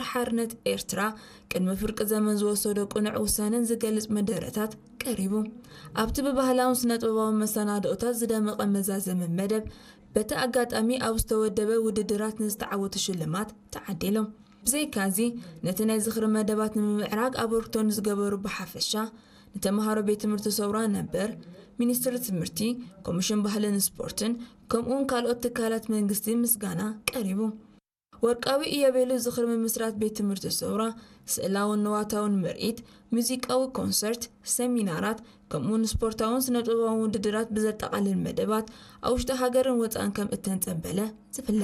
ሓርነት ኤርትራ ቅድሚ ፍርቂ ዘመን ዝወሰዶ ቅኑዕ ውሳነን ዝገልጽ መደረታት ቀሪቡ። ኣብቲ ብባህላውን ስነጥበባዊ መሰናድኦታት ዝደመቐ መዛዘሚ መደብ፣ በቲ ኣጋጣሚ ኣብ ዝተወደበ ውድድራት ንዝተዓወቱ ሽልማት ተዓዲሎም። ብዘይካዚ፣ ነቲ ናይ ዝኽሪ መደባት ንምምዕራግ ኣበርክቶ ንዝገበሩ ብሓፈሻ፣ ንተምሃሮ ቤት ትምህርቲ ሰውራ ነበር፣ ሚኒስትሪ ትምህርቲ፣ ኮሚሽን ባህልን ስፖርትን፣ ከምኡውን ካልኦት ትካላት መንግስቲ ምስጋና ቀሪቡ። ወርቃዊ ኢዮቤሉ ዝኽሪ ምምስራት ቤት ትምህርቲ ሰውራ፣ ስእላውን ንዋታውን ምርኢት፣ ሙዚቃዊ ኮንሰርት፣ ሰሚናራት፣ ከምኡውን ስፖርታውን ስነጥበባውን ውድድራት ብዘጠቓልል መደባት ኣብ ውሽጢ ሃገርን ወፃእን ከም እተንፀበለ ዝፍለጥ።